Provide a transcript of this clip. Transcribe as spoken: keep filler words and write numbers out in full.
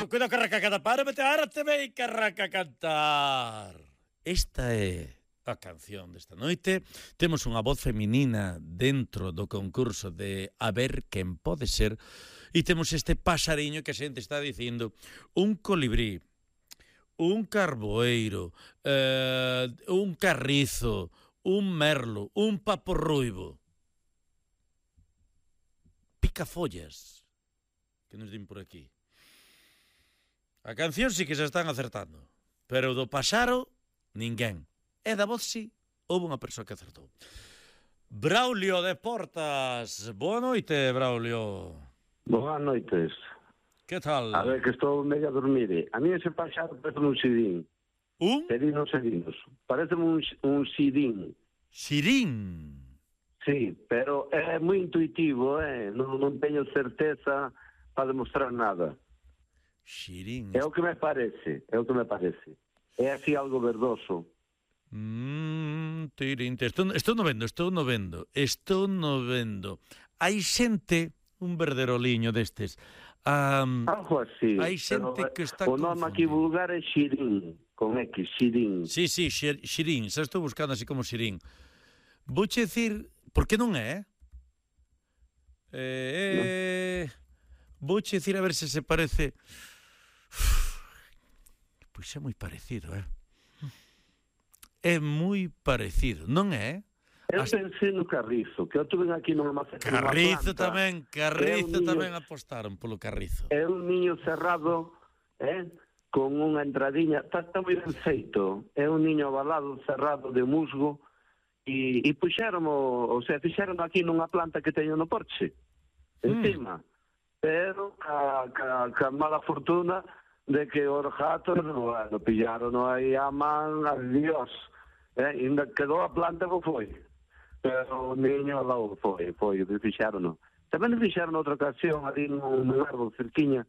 Cuidado, carraca, cada párate, ahora te vei, carraca, cantar. Esta é a canción desta noite. Temos unha voz feminina dentro do concurso de A ver quen pode ser. E temos este pasariño que a xente está dicindo. Un colibrí, un carboeiro, eh, un carrizo, un merlo, un papo ruivo. Picafollas, que nos din por aquí. A canción sí que se están acertando, pero do pasaro, ninguén. E da voz sí, houve unha persoa que acertou. Braulio de Portas. Boa noite, Braulio. Boas noites. Que tal? A ver, que estou medio a dormir. A mí ese pasaro parece un sidín. Un? Serinos, serinos. Parece un, un sidín. Sirín. Sí, pero é moi intuitivo, eh? non, non teño certeza para demostrar nada. Xirín. É o que me parece, é o que me parece. É así algo verdoso. Mmm, tirín. Estou, estou no vendo, estou no vendo. Estou no vendo. Hai xente, un verderoliño destes. Um, Algo así. Hai xente pero, que está o nome aquí vulgar é xirín, con X, xirín. Sí, sí, xir, xirín. Xa estou buscando así como xirín. Vouche dicir, por que non é? Eh, no. Vouche dicir a ver se se parece. Pois é moi parecido, eh? É moi parecido, non é? Eu Hasta... pensei no carrizo, que eu tuve aquí nunha maceta. Carrizo tamén, carrizo niño, tamén apostaron polo carrizo. É un niño cerrado, eh? Con unha entradiña, está, está moi ben feito. É un niño avalado, cerrado de musgo, e, e puxeron, o sea, fixeron aquí nunha planta que teño no porche, encima. Mm. Pero ca, ca, ca mala fortuna de que os gatos, bueno, pillaron aí a man, adiós. Eh? Ainda quedou a planta que foi. Pero o niño lá foi, foi, fixeron. Tamén fixeron outra ocasión ali nun árbol cerquiña,